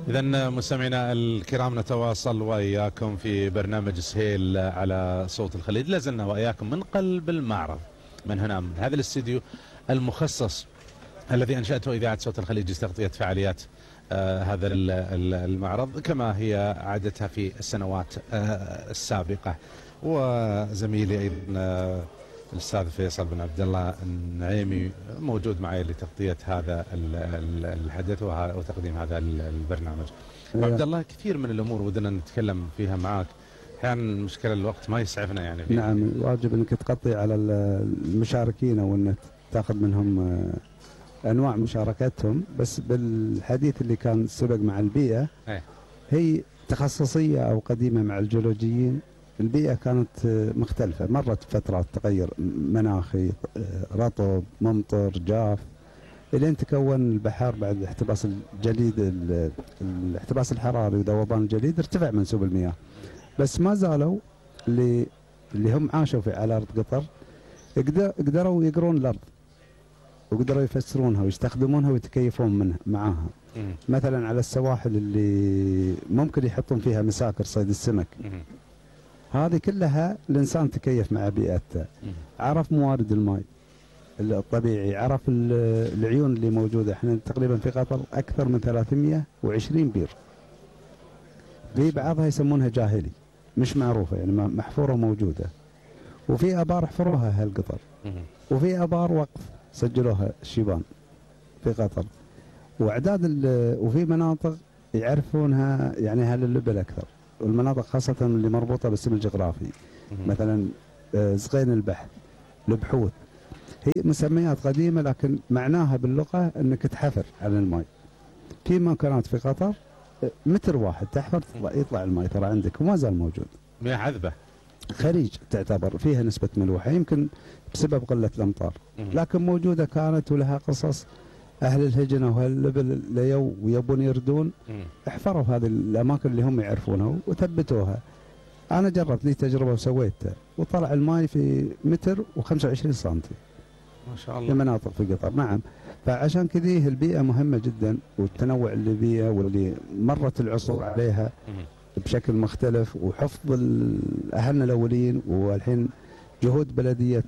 إذا مستمعينا الكرام نتواصل وإياكم في برنامج سهيل على صوت الخليج. لازلنا وإياكم من قلب المعرض، من هنا من هذا الاستديو المخصص الذي أنشأته إذاعة صوت الخليج لتغطية فعاليات هذا المعرض كما هي عادتها في السنوات السابقة. وزميلي أيضا الأستاذ فيصل بن عبد الله النعيمي موجود معي لتغطية هذا الحدث وتقديم هذا البرنامج. عبد الله، كثير من الأمور ودنا نتكلم فيها معك، أحيانا مشكلة الوقت ما يسعفنا يعني فيه. نعم، واجب أنك تغطي على المشاركين وأنك تأخذ منهم أنواع مشاركتهم. بس بالحديث اللي كان سبق مع البيئة هي تخصصية أو قديمة مع الجيولوجيين. البيئة كانت مختلفة، مرت فترات تغير مناخي، رطب، ممطر، جاف، إلين تكون البحر بعد احتباس الجليد، الاحتباس الحراري وذوبان الجليد، ارتفع منسوب المياه. بس ما زالوا اللي هم عاشوا على أرض قطر قدروا يقرون الأرض وقدروا يفسرونها ويستخدمونها ويتكيفون معاها. مثلا على السواحل اللي ممكن يحطون فيها مساكر صيد السمك، هذه كلها الإنسان تكيف مع بيئته، عرف موارد الماء الطبيعي، عرف العيون اللي موجودة. احنا تقريبا في قطر أكثر من 320 بير، في بعضها يسمونها جاهلي مش معروفة يعني محفورة موجودة، وفي آبار حفروها أهل قطر، وفي آبار وقف سجلوها الشيبان في قطر، وفي مناطق يعرفونها يعني أهل اللبل أكثر، والمناطق خاصة اللي مربوطة بالاسم الجغرافي. مثلا زقين البحث، البحوث، هي مسميات قديمة لكن معناها باللغة أنك تحفر على الماء. في مكانات في قطر متر واحد تحفر يطلع الماء ترى عندك، وما زال موجود. مياه عذبة، خليج تعتبر فيها نسبة ملوحة يمكن بسبب قلة الأمطار، لكن موجودة كانت ولها قصص. أهل الهجنة وأهل اللبل ليو ويبون يردون احفروا هذه الأماكن اللي هم يعرفونها وثبتوها. أنا جربت لي تجربة وسويتها، وطلع الماء في متر و25 سنتي ما شاء الله في مناطق في قطر. نعم، فعشان كذي البيئة مهمة جدا، والتنوع اللي بيها واللي مرت العصور عليها بشكل مختلف، وحفظ أهلنا الأولين. والحين جهود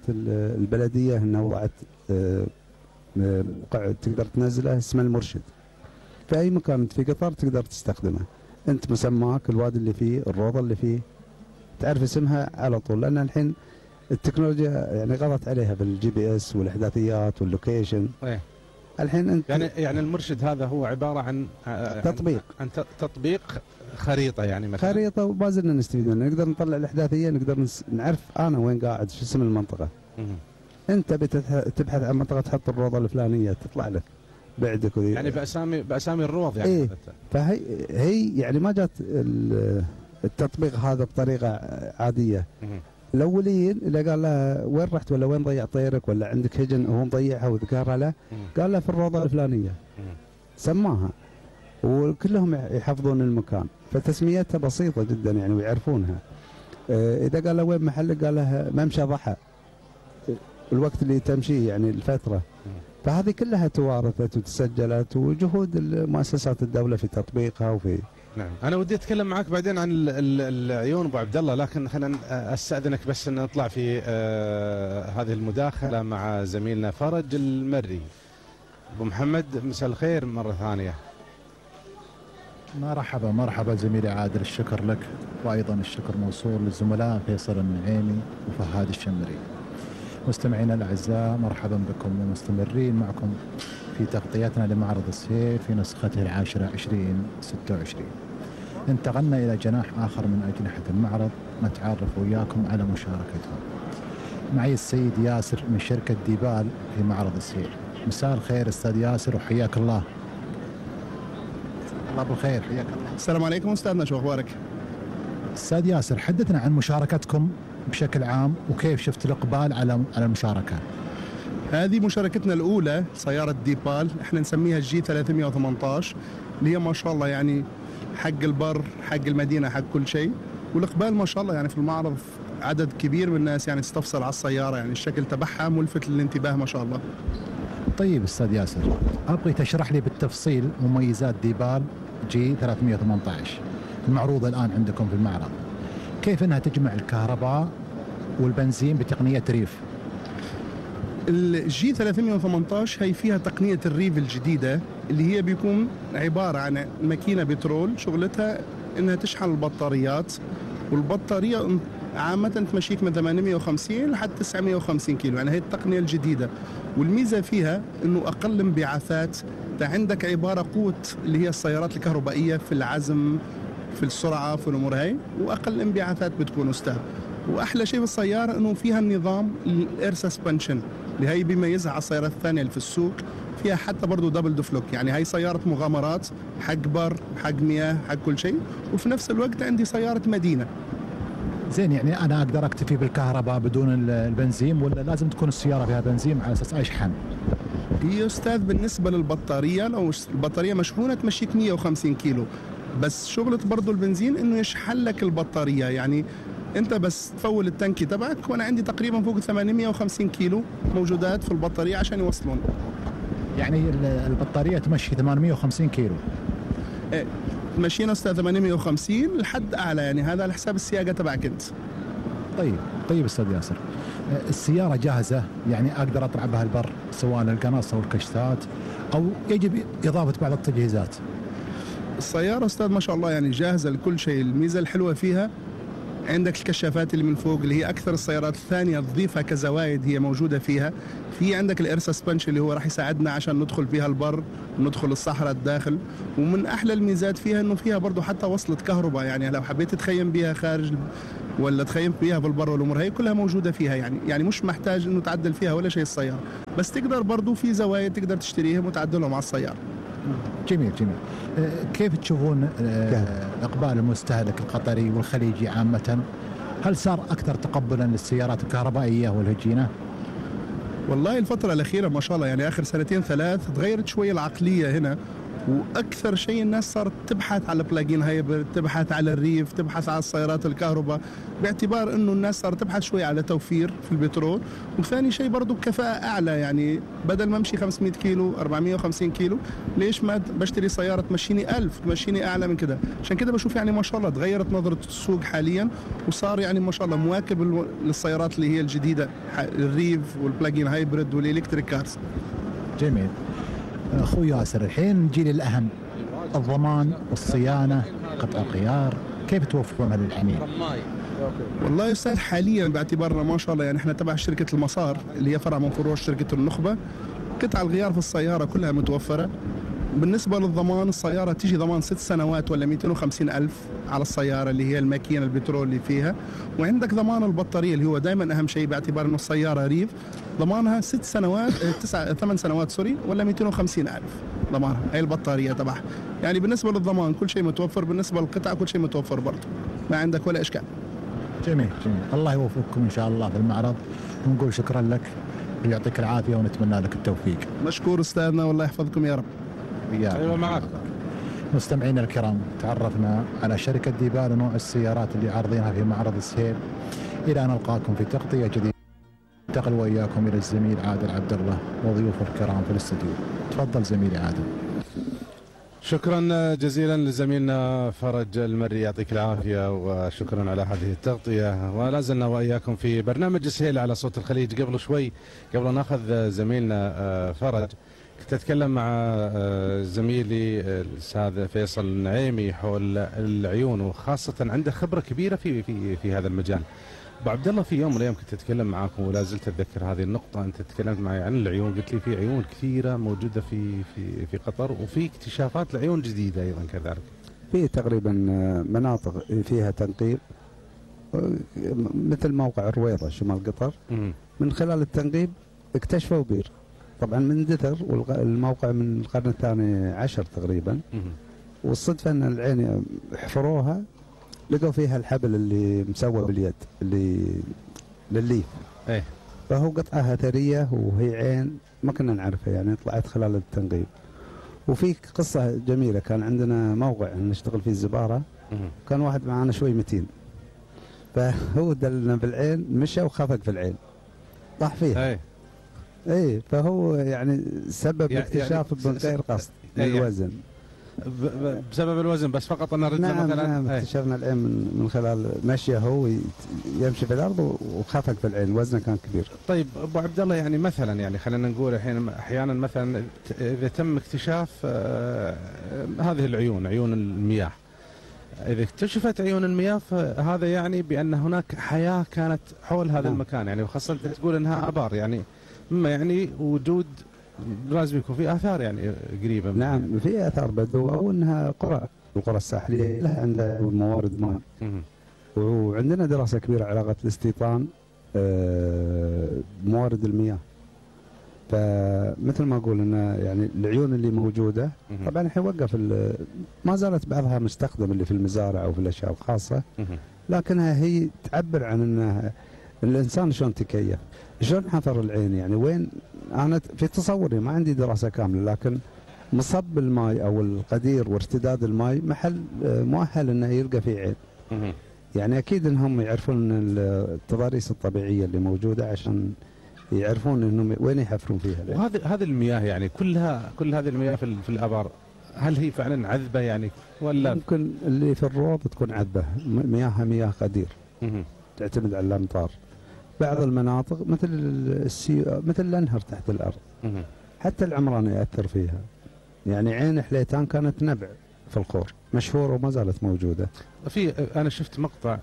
البلدية أنها وضعت موقع تقدر تنزله اسمه المرشد في أي مكان في قطر تقدر تستخدمه. أنت مسماك، الوادي اللي فيه، الروضة اللي فيه، تعرف اسمها على طول، لأن الحين التكنولوجيا يعني غطت عليها بالGPS والإحداثيات واللوكيشن. الحين أنت يعني المرشد هذا هو عبارة عن تطبيق خريطة، يعني مثلا خريطة، وما زلنا نستفيد منها. نقدر نطلع الإحداثية، نقدر نعرف أنا وين قاعد، شو اسم المنطقة. أنت بتبحث عن منطقة تحط الروضة الفلانية تطلع لك بعدك يعني بأسامي الروض يعني. إيه، فهي يعني ما جات التطبيق هذا بطريقة عادية. الأولين اللي قال له وين رحت ولا وين ضيع طيرك ولا عندك هجن وهو مضيعها وذكرها له، قال له في الروضة الفلانية، سماها، وكلهم يحفظون المكان. فتسميتها بسيطة جدا يعني ويعرفونها. إذا قال له وين محلك قال له ممشى ضحى، الوقت اللي تمشي يعني الفترة. فهذه كلها توارثت وتسجلت، وجهود مؤسسات الدولة في تطبيقها وفي. نعم، أنا ودي أتكلم معك بعدين عن العيون أبو عبد الله، لكن خلينا أستأذنك بس أن نطلع في هذه المداخلة مع زميلنا فرج المري. أبو محمد، مساء الخير مرة ثانية. مرحبا زميلي عادل، الشكر لك، وأيضا الشكر موصول للزملاء فيصل النعيمي وفهاد الشمري. مستمعينا الأعزاء، مرحبا بكم ومستمرين معكم في تغطيتنا لمعرض السهيل في نسخته العاشرة 2026. انتقلنا إلى جناح آخر من أجنحة المعرض، نتعرف وياكم على مشاركتهم. معي السيد ياسر من شركة ديبال في معرض السهيل. مساء الخير أستاذ ياسر وحياك الله. الله بالخير، حياك الله. السلام عليكم أستاذنا، شو أخبارك؟ أستاذ ياسر، حدثنا عن مشاركتكم بشكل عام وكيف شفت الإقبال على المشاركة. هذه مشاركتنا الأولى سيارة ديبال، احنا نسميها الجي 318، اللي هي ما شاء الله يعني حق البر حق المدينة حق كل شيء. والإقبال ما شاء الله يعني في المعرض عدد كبير من الناس يعني استفسر على السيارة، يعني الشكل تبعها ملفت للانتباه ما شاء الله. طيب أستاذ ياسر، أبغي تشرح لي بالتفصيل مميزات ديبال جي 318 المعروضة الآن عندكم في المعرض، كيف أنها تجمع الكهرباء والبنزين بتقنية ريف؟ الجي 318 هي فيها تقنية الريف الجديدة اللي هي بيكون عبارة عن ماكينة بترول شغلتها انها تشحن البطاريات، والبطارية عامة تمشيك من 850 لحد 950 كيلو، يعني هي التقنية الجديدة. والميزة فيها انه اقل انبعاثات، عندك عبارة قوة اللي هي السيارات الكهربائية في العزم في السرعة في الامور هاي، واقل انبعاثات بتكون استاذ. واحلى شيء بالسيارة انه فيها النظام الاير سسبنشن اللي هي بيميزها على السيارات الثانية اللي في السوق، فيها حتى برضه دبل دفلوك، يعني هي سيارة مغامرات، حق بر حق مياه حق كل شيء، وفي نفس الوقت عندي سيارة مدينة. زين، يعني أنا أقدر أكتفي بالكهرباء بدون البنزين، ولا لازم تكون السيارة فيها بنزين على أساس أشحن؟ هي أستاذ بالنسبة للبطارية، لو البطارية مشحونة تمشيك 150 كيلو، بس شغلة برضه البنزين إنه يشحن لك البطارية، يعني أنت بس تفول التنكي تبعك، وأنا عندي تقريبا فوق 850 كيلو موجودات في البطارية عشان يوصلون. يعني البطارية تمشي 850 كيلو؟ إيه، مشينا أستاذ 850 لحد أعلى، يعني هذا على حساب السياقة تبعك أنت. طيب أستاذ ياسر، السيارة جاهزة يعني أقدر أطلع بها البر سواء القناص أو الكشتات، أو يجب إضافة بعض التجهيزات؟ السيارة أستاذ ما شاء الله يعني جاهزة لكل شيء. الميزة الحلوة فيها عندك الكشافات اللي من فوق اللي هي أكثر السيارات الثانية تضيفها كزوايد هي موجودة فيها. في عندك الإير سسبنشن اللي هو راح يساعدنا عشان ندخل فيها البر، ندخل الصحراء الداخل. ومن أحلى الميزات فيها إنه فيها برضو حتى وصلة كهرباء، يعني لو حبيت تخيم بيها خارج ولا تخيم بيها في البر والأمور هي كلها موجودة فيها، يعني مش محتاج إنه تعدل فيها ولا شيء السيارة، بس تقدر برضو في زوايد تقدر تشتريهم وتعدلهم على السيارة. جميل. كيف تشوفون إقبال المستهلك القطري والخليجي عامة؟ هل صار أكثر تقبلا للسيارات الكهربائية والهجينة؟ والله الفترة الأخيرة ما شاء الله، يعني آخر سنتين ثلاث تغيرت شوية العقلية هنا، واكثر شيء الناس صارت تبحث على بلاجين هايبرد، تبحث على الريف، تبحث على السيارات الكهرباء، باعتبار انه الناس صارت تبحث شوي على توفير في البترول، وثاني شيء برضه كفاءة اعلى. يعني بدل ما امشي 500 كيلو 450 كيلو، ليش ما بشتري سيارة تمشيني 1000 تمشيني اعلى من كده؟ عشان كده بشوف يعني ما شاء الله تغيرت نظرة السوق حاليا، وصار يعني ما شاء الله مواكب للسيارات اللي هي الجديدة، الريف والبلاجين هايبرد والالكتريك كارز. جميل. اخوي ياسر، الحين نجي للاهم، الضمان والصيانه، قطع الغيار، كيف توفرونها للحميل؟ والله يا استاذ حاليا باعتبارنا ما شاء الله يعني احنا تبع شركه المسار اللي هي فرع من فروع شركه النخبه، قطع الغيار في السياره كلها متوفره. بالنسبه للضمان، السياره تيجي ضمان 6 سنوات ولا 250,000 على السياره اللي هي الماكينه البترول اللي فيها، وعندك ضمان البطاريه اللي هو دائما اهم شيء باعتبار انه السياره ريف، ضمانها 6 سنوات 8 سنوات ولا 250,000 ضمانها هي البطاريه تبعها. يعني بالنسبه للضمان كل شيء متوفر، بالنسبه للقطع كل شيء متوفر برضه، ما عندك ولا اشكال. جميل. الله يوفقكم ان شاء الله في المعرض، ونقول شكرا لك ويعطيك العافيه ونتمنى لك التوفيق. مشكور استاذنا والله يحفظكم يا رب. ايوه معك. مستمعينا الكرام، تعرفنا على شركة ديبال ونوع السيارات اللي عارضينها في معرض السهيل. إلى أن نلقاكم في تغطية جديدة، انتقل وإياكم إلى الزميل عادل عبد الله وضيوفه الكرام في الاستديو. تفضل زميلي عادل. شكرا جزيلا لزميلنا فرج المري، يعطيك العافية وشكرا على هذه التغطية. ولا زلنا وإياكم في برنامج السهيل على صوت الخليج. قبل شوي قبل ناخذ زميلنا فرج، كنت أتكلم مع زميلي الأستاذ فيصل النعيمي حول العيون، وخاصة عنده خبرة كبيرة في هذا المجال. أبو عبد الله، في يوم من الأيام كنت أتكلم معاكم ولا زلت أتذكر هذه النقطة، أنت تكلمت معي عن العيون، قلت لي في عيون كثيرة موجودة في قطر، وفي اكتشافات لعيون جديدة أيضا كذلك. في تقريبا مناطق فيها تنقيب مثل موقع الرويضة شمال قطر. من خلال التنقيب اكتشفوا بير، طبعا من دثر، والموقع من القرن الثاني عشر تقريبا. والصدفة ان العين حفروها لقوا فيها الحبل اللي مسوى باليد اللي للليف. فهو قطعة أثرية وهي عين ما كنا نعرفها، يعني طلعت خلال التنقيب. وفي قصة جميلة، كان عندنا موقع نشتغل فيه الزبارة، كان واحد معانا شوي متين، فهو دلنا بالعين، مشى وخفق في العين طاح فيها. فهو يعني سبب اكتشاف من غير قصد الوزن. بسبب الوزن بس فقط أن الرجل نعم مثلا. نعم اكتشفنا العين من خلال مشيه هو يمشي في الارض وخفق في العين، وزنه كان كبير. طيب ابو عبد الله، يعني مثلا يعني خلينا نقول الحين احيانا مثلا اذا تم اكتشاف هذه العيون، عيون المياه، اذا اكتشفت عيون المياه فهذا يعني بان هناك حياه كانت حول هذا المكان، يعني وخاصه تقول انها ابار، يعني مما يعني وجود لازم يكون في اثار يعني قريبه. نعم في اثار بدو، او انها القرى الساحليه لها عندها موارد ماء. وعندنا دراسه كبيره علاقه الاستيطان بموارد المياه. فمثل ما اقول ان يعني العيون اللي موجوده طبعا الحين وقف ما زالت بعضها مستخدم اللي في المزارع او في الاشياء الخاصه، لكنها هي تعبر عن انها الانسان شلون تكيف، شلون حفر العين. يعني وين انا في تصوري ما عندي دراسه كامله، لكن مصب الماء او القدير وارتداد الماء محل مؤهل انه يلقى فيه عين. يعني اكيد انهم يعرفون التضاريس الطبيعيه اللي موجوده عشان يعرفون انهم وين يحفرون فيها. وهذه المياه يعني كل هذه المياه في الابار، هل هي فعلا عذبه يعني ولا ممكن اللي في الروض تكون عذبه، مياهها مياه قدير تعتمد على الامطار. بعض المناطق مثل الانهر تحت الارض، حتى العمران ياثر فيها. يعني عين حليتان كانت نبع في الخور مشهوره وما زالت موجوده. انا شفت مقطع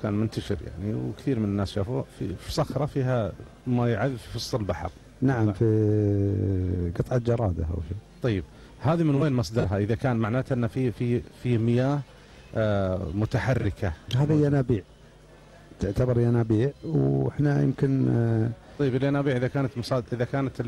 كان منتشر يعني وكثير من الناس شافوه في صخره فيها ماء عذب في وسط البحر. نعم في قطعه جراده او شيء. طيب هذه من وين مصدرها؟ اذا كان معناته ان في مياه متحركه. هذه ينابيع، تعتبر ينابيع، واحنا يمكن طيب الينابيع اذا كانت